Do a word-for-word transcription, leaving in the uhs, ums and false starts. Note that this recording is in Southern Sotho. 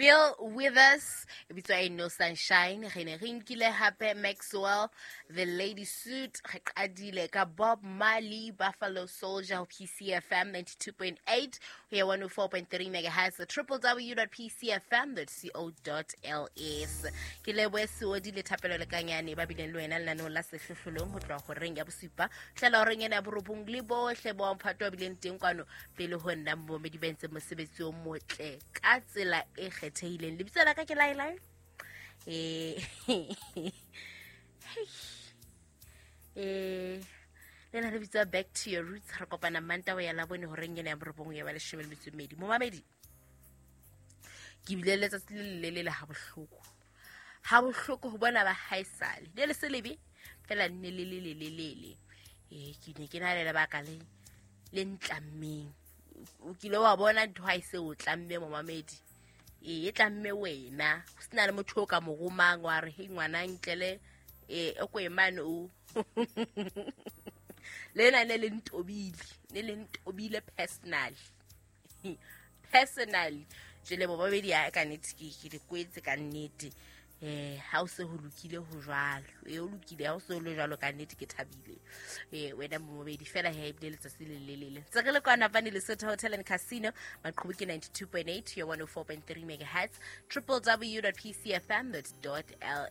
Bill Withers e bitswa Ain't No Sunshine. Re ne re nkile hape Maxwell, The Lady Suit. Re qadile ka Bob Marley, Buffalo Soldier, ho P C F M ninety-two point eight ho ya one oh four point three megahertz, w w w dot p c f m dot co dot l s. Ke lebohe Seodi le Thapelo Lekanyane ba bileng le wena lenaneong la Sehlohlolong ho tloha horeng ya bosupa hlela horeng ena ya borobong, le bohle ba mphato ba bileng teng kwano pele ho nna, momedi ba entseng mosebetsi o motle ka tsela e kgethehileng. Lebitso la ka ke Laelai. eh eh lena le bitswa Back to Your Roots. Re kopana Manta ya Labone horeng ena ya borobong ya ba leshome le metso e mmedi. Momamedi, ke bile letsatsi le lelele ha bohloko, ha bohloko ho bona ba haesale ne le se lebe fela, nne le le le le lele. Ee, ke ne ke na le lebaka le le ntlammeng. O kile wa bona ntho ha e se o tlamme, momamedi? Ee, e tlamme wena, ho sena le motho o ka mo romang wa re, "Hei ngwana, ntlele um o ko emane o lena." Ne le ntobile, ne le ntobile personally, personally. Jwale bobabedi ya ka nnete ke ke di kwetse ka nnete. eh ha o se ho lokile ho jwalo, e o lokile ha o se ho le jwalo, ka nnete ke thabile. eh wena momobedi fela he, ebile letsatsi le lelele ntse re le kwana fane Lesotho Hotel and Casino, maqhubu ke ninety-two point eight yo one oh four point three megahertz, w w w dot p c f m dot l.